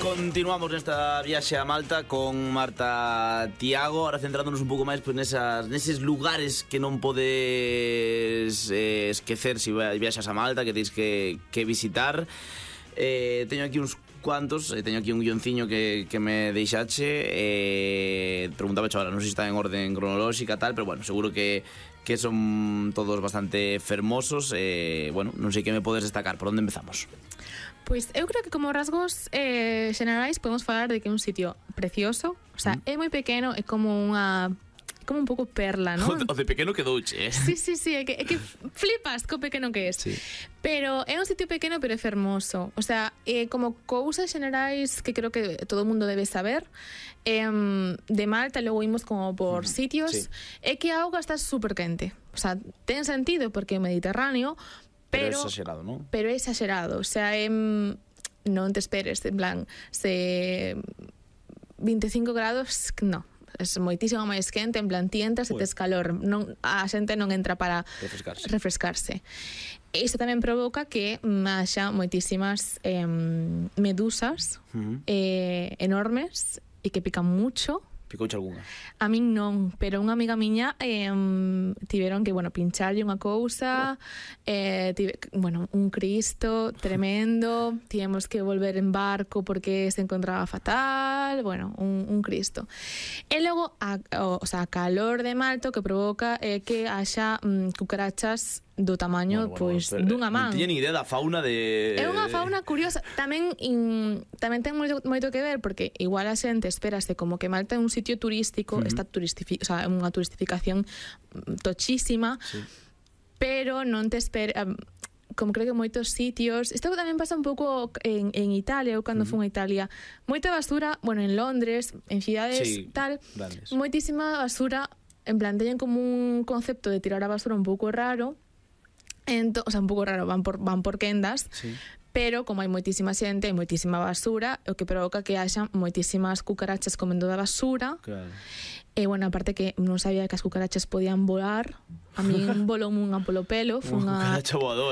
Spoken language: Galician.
Continuamos nesta viaxe a Malta con Marta Tiago, ahora centrándonos un pouco máis pues, neses lugares que non podes esquecer se viaxas a Malta, que tens que visitar. Teño aquí uns cuantos, teño aquí un guionciño que me deixache. Preguntaba ahora, non sei se está en orden cronolóxica tal, pero bueno, seguro que son todos bastante fermosos. Bueno, non sei que me podes destacar, por onde empezamos? Pois eu creo que como rasgos xenerais podemos falar de que é un sitio precioso. O sea, é moi pequeno, é como unha... como un pouco perla, non? O de pequeno quedouche, Sí, é que flipas co pequeno que é. Sí. Pero é un sitio pequeno, pero é fermoso. O sea, como cousas xenerais que creo que todo o mundo debe saber, de Malta, logo imos como por sitios, sí. É que a auga está super quente. O sea, ten sentido porque é Mediterráneo, pero é exagerado, non? Pero é exagerado, o sea, non te esperes, en plan, se 25 grados, no, é moitísimo máis quente, en plan, ti entras e tes calor, non, a xente non entra para refrescarse. Isto tamén provoca que haxa moitísimas medusas enormes e que pican mucho. Picouche algunha? A min non, pero unha amiga miña tiveron que, bueno, pincharlle unha cousa, un Cristo tremendo, tivemos que volver en barco porque se encontraba fatal, bueno, un Cristo. E logo, o sea, a calor de Malta que provoca que haxa cucarachas do tamaño, pois, dunha man. Non tiña ni idea da fauna de... É unha fauna curiosa. Tamén ten moito que ver, porque igual a xente espérase como que Malta é un sitio turístico, está o sea, unha turistificación tochísima, sí. Pero non te espera... como creo que moitos sitios... Isto tamén pasa un pouco en Italia, eu cando fui a Italia. Moita basura, bueno, en Londres, en cidades tal, grandes. Moitísima basura, en plan, teñen como un concepto de tirar a basura un pouco raro, o sea, un pouco raro, van por quendas, sí. Pero como hai moitísima xente, hai moitísima basura, o que provoca que haxa moitísimas cucarachas comendo da basura. Claro. E, bueno, aparte que non sabía que as cucarachas podían volar, a mí voloume unha polo pelo, foi unha... cucaracha voadora.